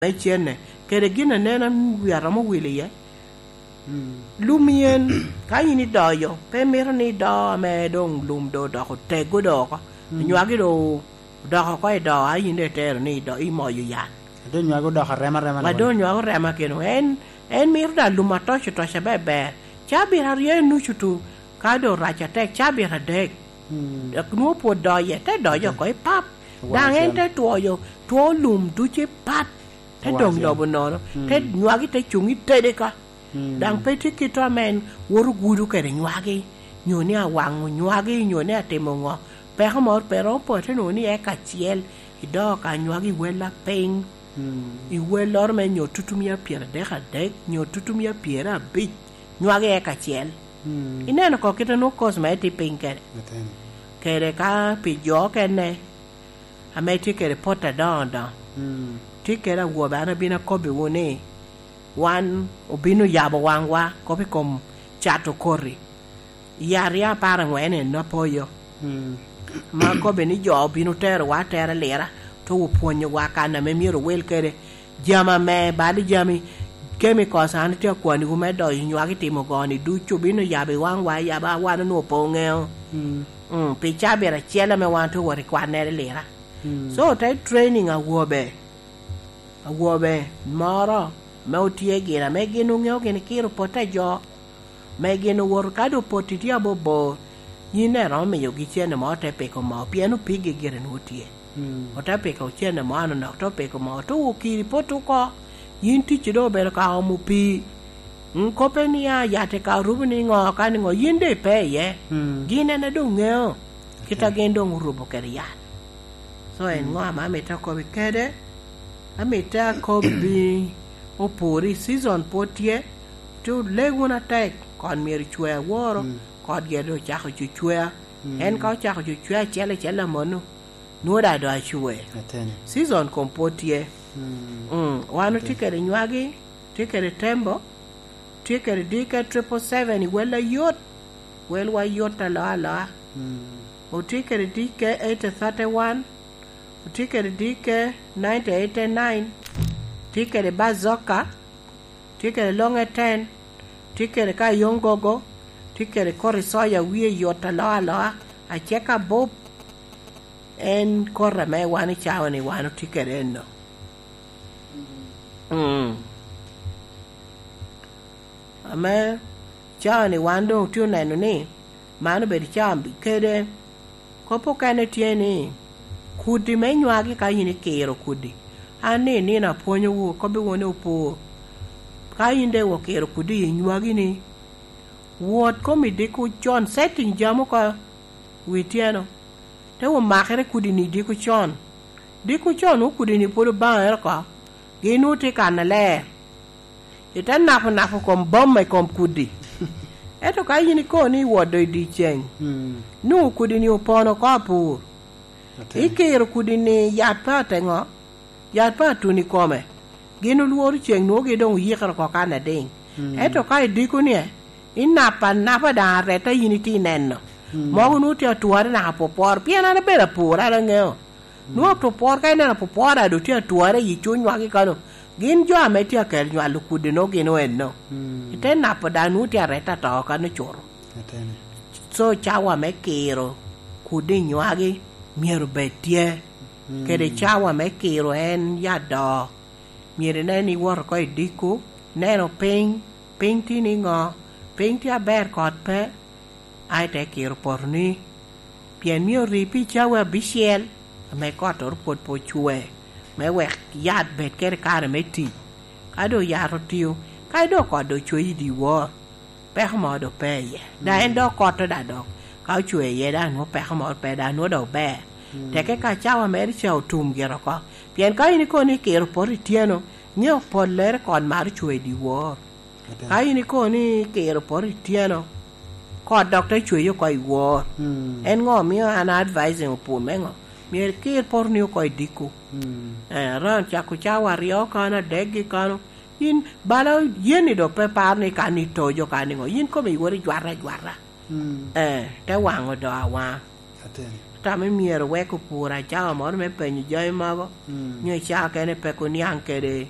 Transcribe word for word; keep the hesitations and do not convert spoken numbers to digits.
me cene, kede gin aneno wi aromo wil iye. Mm. Lum yen, ka in idoyo, pe mito ni ido ame doŋ lum doŋ odoko tego doŋ oko. Mm. Nywagi doŋ odoko oko i do, a in doŋ itero ni ido, imoyo yat. Wa doŋ nywagi odoko arema rema. Wa doŋ nywagi orema keno. En, en mito da lum atoco toca beber. Cabit aryo i nucu tu, ka doŋ rac atek, cabit adek. Mm. Dok nwoŋo pwod doye, te doc oko i pap. Daŋ en te twoyo, two lum ducu i pap. Te doŋ lobo nono. Mm. Te nywagi te cuŋ i tede ka. Mm. Daŋ pe tye kit ame en woto gudo kede nywagi, nyo ni awaŋo nywagi, nyo ni atimo ŋo. Peko moro pe romo poto, nwoŋo ni eka acel, idoo ka nywagi i wel apiny, mm, i welloro me nyo tutumia pyeradek adek, nyo tutumia pyerabic, nywagi eka acel. Mm. Ineno ko kite nwoŋo kos me tye piny kede. Ateni. Kede ka pi jo okene, ame tye kede pot adoŋo adoŋo. Mm. Tye kede awobe, an abino akobbiwu ni, wan obino yabo waŋwa, kop i kom cato koti. I aryo apar angwen en apoyo. Mm. Ma akobbe ni jo obino terowa atera lira, to opwonyowa kan ame myero owil kede. Jami ame, bal jami, chemicals, an tye akwaniwu me doyo nywagi timo goni ducu, obino yabo i waŋwa, yabo a wan onwoŋo pe oŋeo. Mm. Mm, pi cabit acel ame wan tye owot i kwannere lira. Mm. So, te training awobe, awobe moro ame otye gin, ame gin oŋeo gin kiro pote jo, me gin owoto, ka doŋ poti tye abobor, yin daŋ iromo miyogi cene mo, ote piko moo, pien opigi gire nwoŋo tye. Mm. Ote piko cene mo anonok, te piko moo, te okiri pot oko, yin ticci doŋ obedo ka omo pii. Mm, koppe ni, "A, yat i ka orubo ni ŋo, ka ni ŋo, yin doŋ ipe iye." Mm. Gin en a doŋ ŋeo, kit a gin doŋ orubo kede yat. So, en ŋo ame amito akobbi kede? Amito akobbi opuri, season pwod tye, te oleg wunu atek, kon myero cwe aworo, mm, kot gire ocako cucwea. Mm. En ka ocako cucwea acel acel amono, nwoŋo daŋ doŋ acwe. Ateni. Season kom pwod tye. Mm. Mm, wan otye kede nywagi, tye kede tembo, tye kede D K triple seven i wel ayot, welwa yot aloa aloa. Mm. Otye kede D K eighty thirty-one, otye kede D K ninety eighty-nine, tye kede Bazooka, tye kede Longe ten, tye kede ka Yongogo, tye kede koti soya wie yot aloa aloa, aceka bup. En koti ame wan i cawa-ni wan otye kede enno. Mm. Ame cawa-ni wan doŋ otye oneno ni man obedo cawa kede. Kop okene tye ni, kudi me nywagi ka yin ikiro kudi. An ni nino apwonyowu, akobbiwu ni opur. Ka yin doŋ okiro kudi i nywagi-ni, wot kom i diko con, setting jami oko wi tyeno. Te omakere kudi-ni diko con. Diko con nwoŋo kudi-ni pwod obaŋere oko. Gin nwoŋo tye kan aler. Ite napo napo kom boma i kom kudi. Ento ka yin ikobo ni iwodo i dyeceŋ, mm, nwoŋo kudi-ni opono oko apur. Atir. Ikiro kudi-ni yat pe ateŋo, yat pe atun i kome. Gin olworo ceŋ nwoŋo gi doŋ oyikere oko kan adiŋ. Mm. Ento ka idiko-ni, inapa anapa daŋ areta yin itye ineno. Mm. Mogo nwoŋo tye atware naka pwopworo. Pien an abedo apur, an aŋeo. Nwoŋo apwopwor ka ineno apwopwor a doŋ tye atware i cuny nywagi kano. Gin jo ame tye akel nywalo kudi nwoŋo gin oenno. Mm. Ite napo daŋ nwoŋo tye areta to kano cuto. Atene. So cawa me kiro kudi i nywagi myero bed tye. Mm. Kede cawa me kiro en yat do. Myero inen ni iwoto oko i diko, neno piny, piny tye niŋo, piny tye aber, kot pe, a ite kiro potoni. Pien myero ori pi cawa abicel, ame kottoro pwod pe ocwe, me wek yat bed kede kare me tic. Ka doŋ yat otio, kadi doŋ kot doŋ ocwe i dyewor, peko moro doŋ pe iye. Daŋ en doŋ kotto daŋ dok, ka ocwe iye daŋ nwoŋo peko moro pe, daŋ nwoŋo doŋ ober. Mm. Teke ka cawa mere ca otum gire oko. Pien ka in ikobo ni ikiro poto ityeno, nyo pollere kot maro cwe i dyewor. Ate. Ka in ikobo ni ikiro poto ityeno, kot dok te cweye oko i wor. Mm. En ŋo omio an advising opur me ŋo? Myero ikir potoni oko i diko. Mm. Eh, around cako cawa aryo kano, adek gi kano. Yin bala yen ni dok pe paro ni kan itojo kan iŋo. Yin komi iwot ijwata ajwata. Mm. Eh, te waŋo do awaŋa. Ateni. Tam myero wek opur acawa moro me penyo jami mogo, nyo icaa kene pe kuniaŋ kede